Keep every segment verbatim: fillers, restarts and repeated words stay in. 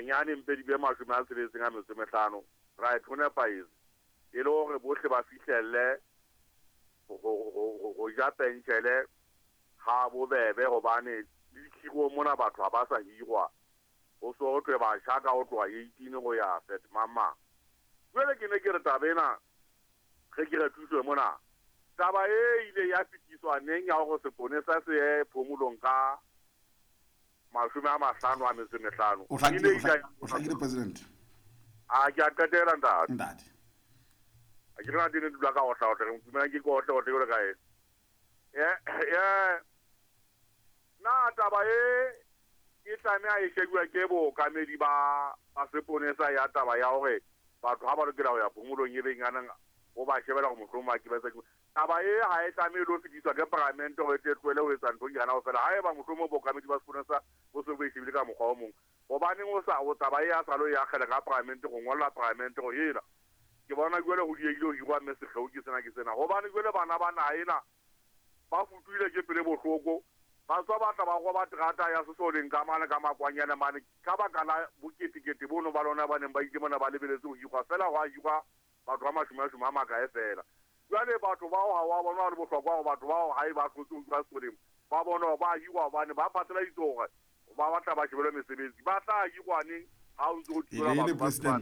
Bonyane mpe di be mashome a tsheletseng a metso e mehlano. Right, ho nepahetse. E le hore bohle ba fihlelle ho ja penshele ha bobebe hobane le dikhiro mona batho ha ba sa hirwa. Ho so ho thwe batjha ka ho tloha eighteen ho ya thirty mama. Jwale ke ne ke re taba ena ge ke re thuso mona. Taba e ile ya fetiswa neng ya hore seponesa se ye phomolong ka mashome a mahlano a metso e mehlano. O hlakile, o hlakile president. A ke a qetela ntate. Ntate. A ke rena tene dula ka otla otla, re dumela ke otla otla jwalo ka ena. Eh eh na taba e e tlameha e shebuwa ke bookamedi ba ba seponesa ya taba ya hore batho ha ba lokela ho ya phomolong e beng anang o ba shebela hore mohlomong ba ke ba etsa taba e ha e tlamehe lo fetiswa ke paramente hore e tle tlohele ho etsa ntho yana fela. Haeba mohlomong bookamedi ba seponesa bo se bo e shebile ka mokgwa o mong, hobaneng o sa o taba e ya sa lo ya kgele ka paramente go ngolla paramente go ena ke bona jwale ho diehile ho hirwa mme sekgeo ke sena ke sena. Hobane jwale bana ba naha ena ba futuhile ke pele bohloko, ba tswa ba tla ba roba terata ya sesoleng ka mane ka makwanyana mane ka baka la boketekete bono ba lona ba neng ba ile mona ba lebeletse ho hirwa fela ho a hirwa batho ba mashome a shome a makae fela. Jwale batho bao ha wa bona le bohlokwa hore batho bao ha e ba tlotse ho hirwa sesoleng ba bona hore ba hirwa hobane ba phatlaladitse hore ba batla ba shebelwe mesebetsi ba tla hirwa neng ha o ntse o thibela batho ba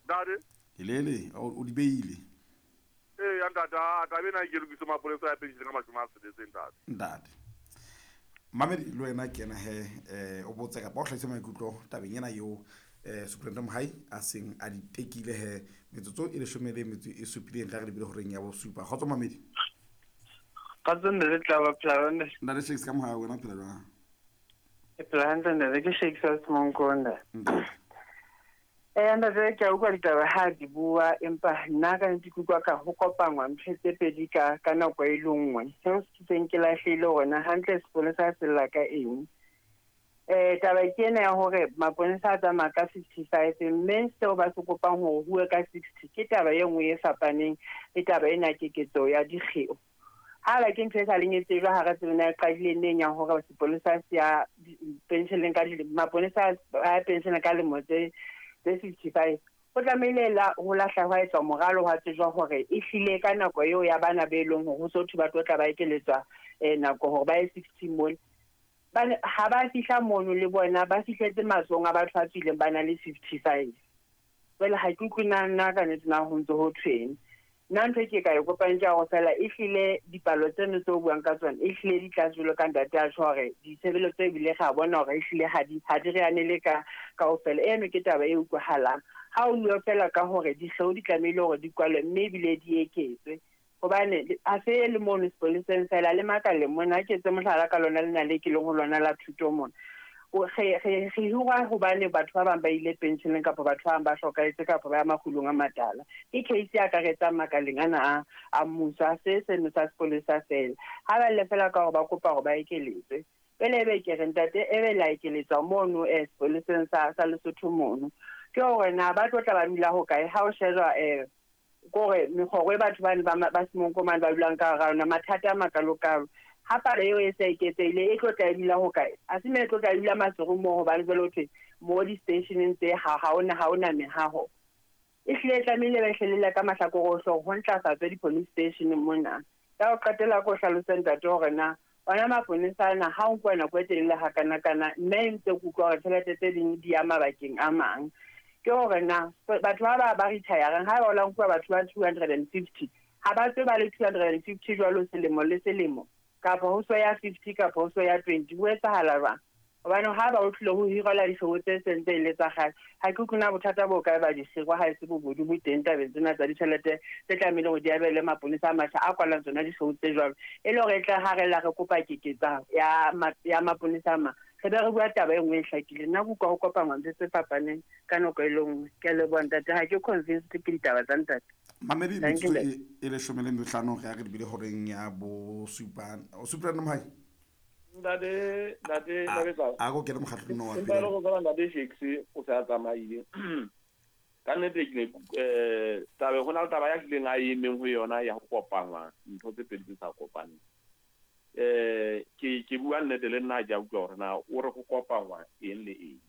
ntate. Elele o di beile. Eh ya ntate, taba ena ke lokise mapolesa ya penshele ka mashome a tsheletseng ntate. Ntate. Mamedi le wena ke ena he eh o botse kapa o hlahise maikutlo tabeng ena eo eh Superintendent Mohai a seng a di tekile he metsotso e leshome le metso e supileng ka re lebile horeng ya bosupa. Kgotso Mamedi. Kgotso ntate, tla ba phela nne. Ntate Shakes ka Mohai, wena phela jwang? Ke phela hantle ntate, ke Shakes wa Semonkonda. Eh ntate, ke a utlwa ditaba ha di bua, empa nna ka nnete ke utlwa ka ho kopangwa ntho tse pedi ka ka nako e le nngwe. Seo se seng ke lahlehile hore na hantle sepolesa se lla ka eng. Eh taba ke ena ya hore maponesa a tsamaya ka fifty-five mme seo ba se kopang hore huwe ka sixty ke taba e nngwe e fapaneng le taba ena keketso ya dikgeo. Ha ba ke ntho e sa leng e tsejwa ha re tsebe na e qadile neng ya hore sepolesa se ya pensioneng ka dilemo, maponesa a pension ka lemo tse tse fifty-five. Ho tlamehile la ho lahla hwa etswa moralo hwa tsejwa hore e hlile ka nako eo ya bana be leng hore ho so thwe ba tlo tla ba ekeletswa eh nako hore ba ye sixty mole. Ba ha ba fihla mono le bona ba fihletse matsohong a batho ba tswileng ba na le fifty-five. Jwale ha ke utlwe na nna ka nnete na ho ntse ho thweng. Nna ntho e ke ka e kopang ke ya hore fela e hlile dipalo tseno tse o buang ka tsona e hlile di tlase jwalo ka ntate a tjho hore ditshebeletso ebile re a bona hore e hlile ha di ha di re anele ka kaofela. Eno ke taba e utlwahalang. Ha o bua fela ka hore dihlooho di tlamehile hore di kwalwe mme ebile di eketswe. Hobane ha se le mono sepoleseng fela le makaleng mona, ke etse mohlala ka lona lena le ke leng ho lona la thuto mona. O re re re hirwa hobane batho ba bang ba ile pensioneng kapa batho ba bang ba hlokahetse kapa ba ya makgulong a matala. Ke case e akaretsang makaleng ana a a mmuso, ha se seno sa sepolesa fela. Ha ba le fela ka hore ba kopa hore ba ekeletswe. Pele ebe ke re ntate e be la ekeletswa mono eh sepoleseng sa sa Lesotho mono. Ke hore na ba tlo tla ba dula hokae ha o shejwa eh kore mekgoro e batho bane ba ba Semonkomane ba dulang ka hara yona, mathata a makalokalo. Ha palo eo e se eketsehile e tlo tla e dula hokae? Ha se me e tlo tla e dula Maseru moo hobane jwale ho thwe mo di-stationeng tse ha ha hona ha hona mehaho. E hlile e tlamehile ba ehlelele ka mahlakore ohle hore ho ntlafatswe di-police station mona. Ka ho qetela ko hlalose ntate hore na ona maponesa ana ha o nkuwa nako e telele hakanakana mme e ntse ke utlwa hore tjhelete tse ding di ya mabakeng a mang. Ke hore na batho ba ba ba retire-ang ha ba o la nkuwa batho ba two hundred and fifty ha ba tswe ba le two hundred and fifty jwalo selemo le selemo kapa ho so ya fifty kapa ho so ya twenty ho etsahala jwang? Hobane ha ba o tlile ho hirela dihloho tse seng tse ile tsa kgale, ha ke utlwe na bothata bo kae ba dihirwa ha e se bobodu bo teng tabeng tsena tsa ditjhelete tse tlamehile hore di abelwe maponesa a matjha a kwalang tsona dihloho tse jwalo. E le hore e tla ha re la re kopa keketsa ya ya maponesa a mang, re be re bua taba e nngwe e hlakileng. Nna ke utlwa ho kopangwa ntho tse fapaneng ka nako e le nngwe. Ke a leboha ntate, ha ke convinced ke ditaba tsa ntate. Mamedi metsotso e e leshome le mehlano re ya re lebile horeng ya bosupa. O Superintendent Mohai. Ntate, ntate, ntate A ko kene mokgatlong wa pele. Empa le go tswa ntate Shakes o se a tsamaile. Ka nnete ke ne eh tabe ho na le taba ya hlileng a emeng ho yona ya ho kopangwa ntho tse pedi tse sa kopaneng. Eh ke ke bua nnete le nna ha ke a utlwa hore na o re ho kopangwa eng le eng.